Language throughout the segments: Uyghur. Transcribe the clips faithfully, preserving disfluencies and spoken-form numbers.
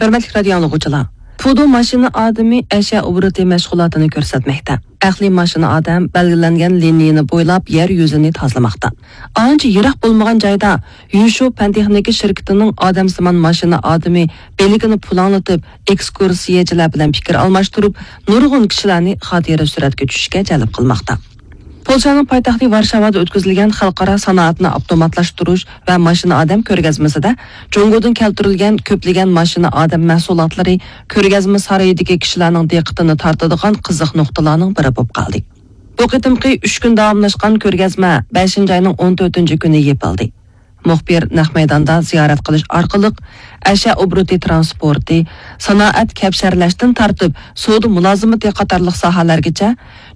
ھۆرمەتلىك رادىيو ئاڭلىغۇچىلار، پۇدۇ ماشىنا ئادىمى ئەشيا ئوبوروتى مەشغۇلاتىنى كۆرسەتمەكتە. ئەقلىي ماشىنا ئادەم بەلگىلەنگەن لىنىيىنى بويلاپ يەر يۈزىنى تازىلىماقتا. ئانچە يىراق بولمىغان جايدا يۈشۇ پەن تېخنىكا شىركىتىنىڭ ئادەمسىمان ماشىنا ئادىمى بىلىكىنى پۇلاڭلىتىپ، ئېكسكۇرسىيەچىلەر بىلەن پىكىر ئالماشتۇرۇپ، نۇرغۇن كىشىلەرنى خاتىرە سۈرەتكە چۈشۈشكە جەلپ قىلماقتا. پولشانىڭ پايتەختى ۋارشاۋادا ئۆتكۈزۈلگەن خەلقئارا سانائەتنى ئاپتوماتلاشتۇرۇش ۋە ماشىنا ئادەم كۆرگەزمىسىدە جۇڭگودىن كەلتۈرۈلگەن كۆپلىگەن ماشىنا ئادەم مەھسۇلاتلىرى كۆرگەزمە سارىيىدىكى كىشىلەرنىڭ دىققىتىنى تارتىدىغان قىزىق نۇقتىلارنىڭ بىرى بولۇپ قالدى. بۇ قېتىمقى ئۈچ كۈن داۋاملاشقان كۆرگەزمە بەشىنچى ئاينىڭ ئون تۆتىنچى كۈنى يېپىلدى. مۇخبىر نەق مەيداندا زىيارەت قىلىش ئارقىلىق ئەشيا ئوبوروتى ترانسپورتى، سانائەت، كەپشەرلەشتىن تارتىپ سودا مۇلازىمىتى قاتارلىق ساھەلەرگىچە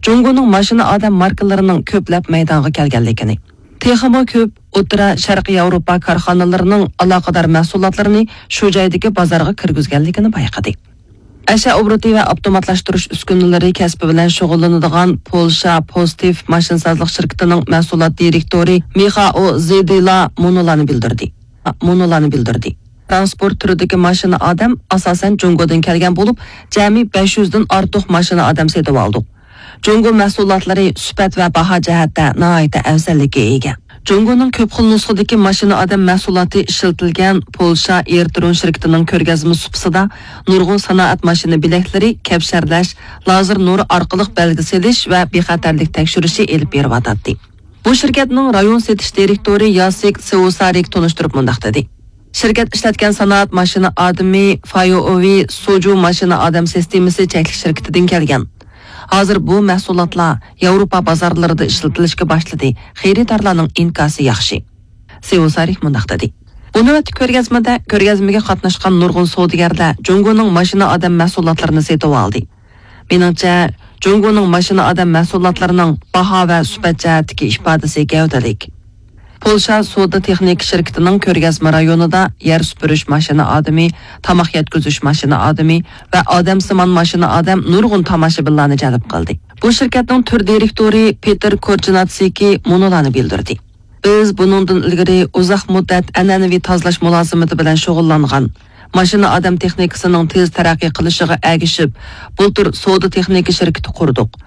جۇڭگونىڭ ماشىنا ئادەم ماركىلىرىنىڭ كۆپلەپ مەيدانغا كەلگەنلىكىنى، تېخىمۇ كۆپ ئوتتۇرا شەرقىي ياۋروپا كارخانىلىرىنىڭ ئالاقىدار مەھسۇلاتلىرىنى شۇ جايدىكى بازارغا كىرگۈزگەنلىكىنى بايقىدى. ئەشيا ئوبوروتى ۋە ئاپتوماتلاشتۇرۇش ئۈسكۈنىلىرى كەسپى بىلەن شۇغۇللىنىدىغان پولشا پوزىتىف ماشىنىسازلىق شىركىتىنىڭ مەھسۇلات دىرېكتورى مىخائو زېدىلا مۇنۇلارنى بىلدۈردى. مۇنۇلارنى بىلدۈردى. ترانسپورت تۈرىدىكى ماشىنا ئادەم ئاساسەن جۇڭگودىن كەلگەن بولۇپ، جەمئىي بەش يۈزدىن ئارتۇق ماشىنا ئادەم سېتىۋالدۇق. جۇڭگو مەھسۇلاتلىرى سۈپەت ۋە باھا جەھەتتە ناھايىتى ئەۋزەللىككە ئىگە. جۇڭگونىڭ كۆپ خىل نۇسخىدىكى ماشىنا ئادەم مەھسۇلاتى ئىشلىتىلگەن پولشا ئېرترون شىركىتىنىڭ كۆرگەزمە سۇپىسىدا نۇرغۇن سانائەت ماشىنا بىلەكلىرى، كەپشەرلەش، لازېر نۇرى ئارقىلىق بەلگە سېلىش ۋە بىخەتەرلىك تەكشۈرۈشى ئېلىپ بېرىۋاتاتتى. بۇ شىركەتنىڭ رايون سېتىش دىرېكتورى ياسىك سېۋۇسارىك تونۇشتۇرۇپ مۇنداق دېدى: شىركەت ئىشلەتكەن سانائەت ماشىنا ئادىمى فايوئوۋى سوجۇ ماشىنا ئادەم سىستېمىسى چەكلىك شىركىتىدىن كەلگەن. ھازىر بۇ مەھسۇلاتلار ياۋروپا بازارلىرىدا ئىشلىتىلىشكە باشلىدى، خېرىدارلارنىڭ ئىنكاسى ياخشى. سېۋۇسارىك مۇنداق دېدى: بۇ نۆۋەتتىكى كۆرگەزمىدە كۆرگەزمىگە قاتناشقان نۇرغۇن سودىگەرلەر جۇڭگونىڭ ماشىنا ئادەم مەھسۇلاتلىرىنى سېتىۋالدى. مېنىڭچە، جۇڭگونىڭ ماشىنا ئادەم مەھسۇلاتلىرىنىڭ باھا ۋە سۈپەت جەھەتتىكى ئىپادىسى گەۋدىلىك. پولشا سودا تېخنىكا شىركىتىنىڭ كۆرگەزمە رايونىدا يەر سۈپۈرۈش ماشىنا ئادىمى، تاماق يەتكۈزۈش ماشىنا ئادىمى ۋە ئادەمسىمان ماشىنا ئادەم نۇرغۇن تاماشىبىنلارنى جەلپ قىلدى. بۇ شىركەتنىڭ تۈر دىرېكتورى پېتېر كورچناتسكى مۇنۇلارنى بىلدۈردى: بىز بۇنىڭدىن ئىلگىرى ئۇزاق مۇددەت ئەنئەنىۋى تازىلاش مۇلازىمىتى بىلەن شۇغۇللانغان، ماشىنا ئادەم تېخنىكىسىنىڭ تېز تەرەققىي قىلىشىغا ئەگىشىپ، بۇلتۇر سودا تېخنىكا شىركىتى قۇردۇق.